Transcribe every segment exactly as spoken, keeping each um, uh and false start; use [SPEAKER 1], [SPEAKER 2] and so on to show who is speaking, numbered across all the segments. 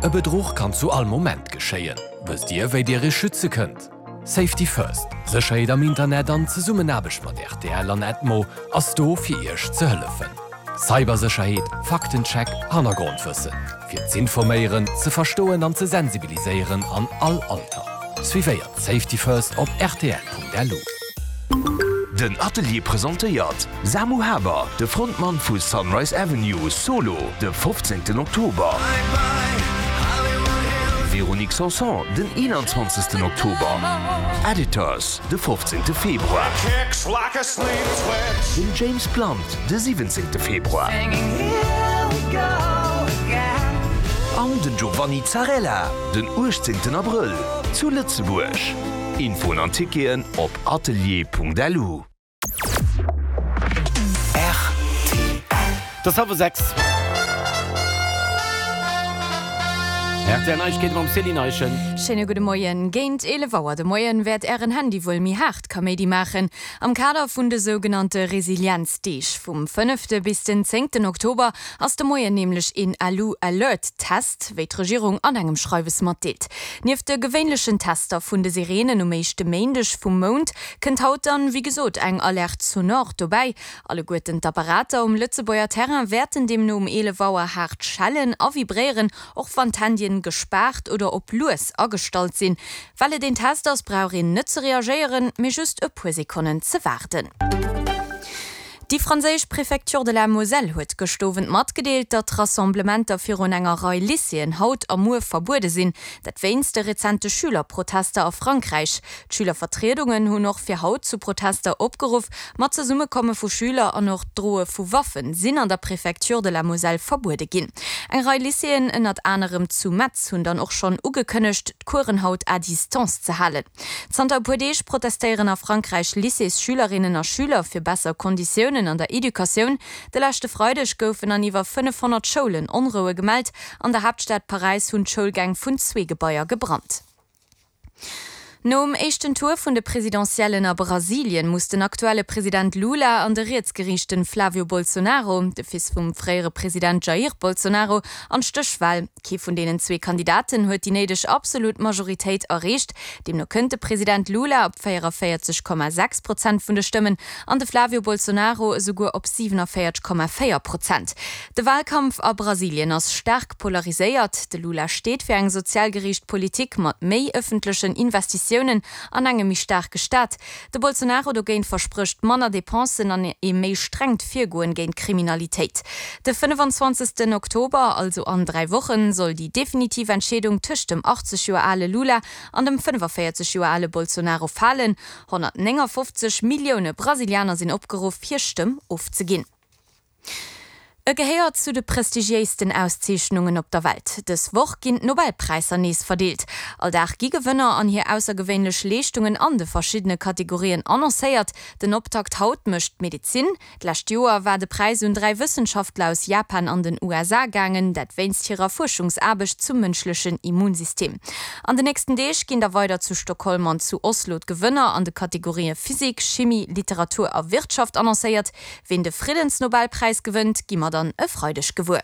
[SPEAKER 1] E Bedruch kann zu all Moment geschéien. Wësst Dir, wéi Dir Iech schütze kënnt? Safety First, Sécherheet am Internet an Zesummenaarbecht mat rtl an Edmo ass do fir Iech ze hëllefen. Cybersécherheet, Faktencheck, Hannergrondwëssen. Fir z'informéieren, ze verstoen an ze sensibiliséieren an all Alter. Suivéiert Safety First op rtl.lu.
[SPEAKER 2] Den Atelier presentéiert Samu Haber, de Frontmann vu Sunrise Avenue, solo de fofzéngten Oktober. Véronique Sanson den eenanzwanzegsten Oktober. Editors de fofzéngte Februar. Den James Blunt de siwwenzéngte Februar. An den Giovanni Zarrella den uechtzéngten Abrëll zu Lëtzebuerg. Infoen an Ticketen op atelier.lu.
[SPEAKER 3] Et ass hallwer sechs. Rtl Neiegkeete mam Céline Eischen.
[SPEAKER 4] Schéine gudde Moien. Géint eelef Auer de Moien wäert Ären Handy wuel méi haart Kaméidi maachen. Am Kader vun de sougenannte Resilienzdeeg vum fënnefte bis den zéngten Oktober ass de Moien nämlech een Alu Alert Test, wéi d'Regierung an engem Schreiwes matdeelt. Nieft de gewéinlechen Tester vun de Sireenen um éischte Méindeg vum Mount kënnt haut dann, wéi gesot, eng Alerte sonore dobäi. Alleguerten d'Apparater um Lëtzebuerger Terrain wäerten deemno um eelef Auer haart schellen a vibréieren, och wann d'Handyen gespaart oder op lues agestallt sinn. Well et een Test ass, brauch een net ze reagéieren, mee just e puer Sekonnen ze waarden. Déi franséisch Préfecture de la Moselle huet gëscht Owend matgedeelt, datt Rassemblementer virun enger Rei Lycéeën haut a muer verbuede sinn. Dat wéinst de rezente Schülerprotester a Frankräich. D'Schülervertriedungen hunn och fir haut zu Protester opgeruff. Ma d'Zesummekomme vu Schüler an och d'Droe vu Waffen sinn an der Préfecture de la Moselle verbuede ginn. Eng Rei Lycéeën, ënnert anerem zu Metz, hunn dann och schonn ugekënnegt, d'Coursen haut à distance ze halen. Zanter e puer Deeg protestéieren a Frankräich Lycéesschülerinnen a Schüler fir besser Konditiounen an der Educatioun. De leschte Freideg goufen an iwwer fënnefhonnert Schoulen Onroue gemellt. An der Haaptstad Paräis hunn d'Schoulgäng vun zwee Gebaier gebrannt. Nom éischten Tour vun de Presidentiellen a Brasilien muss den aktuelle President Lula an de rietsgeriichten Flavio Bolsonaro, de Fils vum fréiere President Jair Bolsonaro, an d'Stéchwal. Kee vun deenen zwee Kandidaten huet déi néideg absolut Majoritéit erreecht. Deemno kënnt de President Lula op véierundavéierzeg Komma sechs Prozent vun de Stëmmen an de Flavio Bolsonaro esouguer op siwenavéierteg Komma véier Prozent. De Walkampf a Brasilien ass staark polariséiert. De Lula steet fir eng sozial geriicht Politik mat méi ëffentlechen Investitiounen an engem méi staarke Staat. De Bolsonaro dogéint versprécht manner Depensen an ee méi strengt Virgoen géint d'Kriminalitéit. De fënnefenzwanzegsten Oktober, also an dräi Wochen, soll déi definitiv Entscheedung tëscht dem achtzeg Joer ale Lula an dem fënnefavéierzeg Joer ale Bolsonaro falen. Honnertnéngafofzeg Millioune Brasilianer sinn opgeruff, hir Stëmm ofzeginn. E gehéiert zu de prestigiéisten Auszeechnungen op der Welt. Dës Woch ginn d'Nobelpräisser nees verdeelt. All Dag gi Gewënner an hir aussergewéinlech Leeschtungen an de verschiddene Kategorien annoncéiert. Den Optakt haut mécht d'Medezin. D'lescht Joer war de Präis un dräi Wëssenschaftler aus Japan an den U S A gaangen, dat wéinst hirer Fuerschungsaarbecht zum mënschlechen Immunsystem. An den nächsten Deeg ginn da weider zu Stockholm an zu Oslo d'Gewënner an de Kategorië Physik, Chimie, Literatur a Wirtschaft annoncéiert. Ween de Friddensnobelpräis gewënnt, gi mer dann e Freideg gewuer.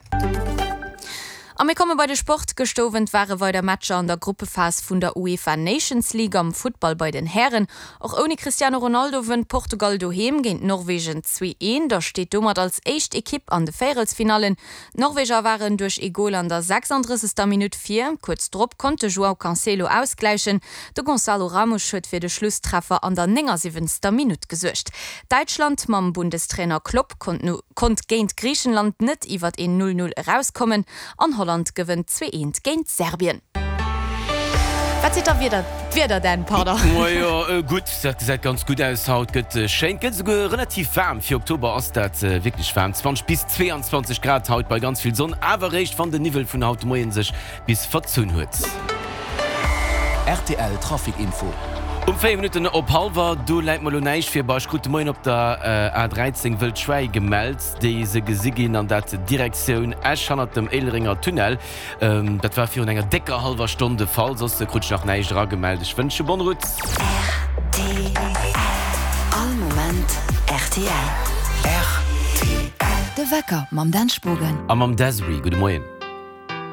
[SPEAKER 4] A mir komme bei de Sport. Gëscht Owend ware weider Matcher an der Gruppephas vun der UEFA Nations League am Futtball bei den Hären. Och ouni Cristiano Ronaldo wënnt Portugal doheem géint Norwegen zwee eent a steet domat als éischt Ekipp an de Véierelsfinallen. D'Norweger waren duerch ee Gol an der sechsandrëssegster Minutt vir. Kuerz drop konnt de João Cancelo ausgläichen. De Gonçalo Ramos huet fir de Schlusstreffer an der néngasiwwenzter Minutt gesuergt. Däitschland mam Bundestrainer Klopp konnt no konnt géint Griichenland net iwwert een Null Null erauskommen an Holland gewënnt zwee eent géint Serbien. Wat seet da Wieder, d'Wieder denn, pardon?
[SPEAKER 3] Majo, gutt, dat gesäit ganz gutt aus haut. Gëtt schéin, gëtt esouguer relativ waarm. Fir Oktober ass dat wierklech waarm, zwanzeg bis zweeanzwanzeg Grad haut bei ganz vill Sonn, awer eréischt wann den Niwwel vun haut de Moien sech bis verzunn huet.
[SPEAKER 1] R T L Trafic Info.
[SPEAKER 3] Um véier Minutten op hallwer, do läit mer elo näischt vir. Bah, ech krut de Moien op der A dräizéng wëll Schwäi gemellt, déi se gesi ginn, an dat Direktioun Esch hannert dem Éilerenger Tunnel. Dat war virun enger décker hallwer Stonn de Fall. Soss krut ech nach näischt eragemellt. Ech wënsche bonne route.
[SPEAKER 5] R T L. All Moment R T L.
[SPEAKER 1] R T L.
[SPEAKER 5] De Wecker mam Dan Spogen.
[SPEAKER 3] A mam Desiree. Gudde Moien.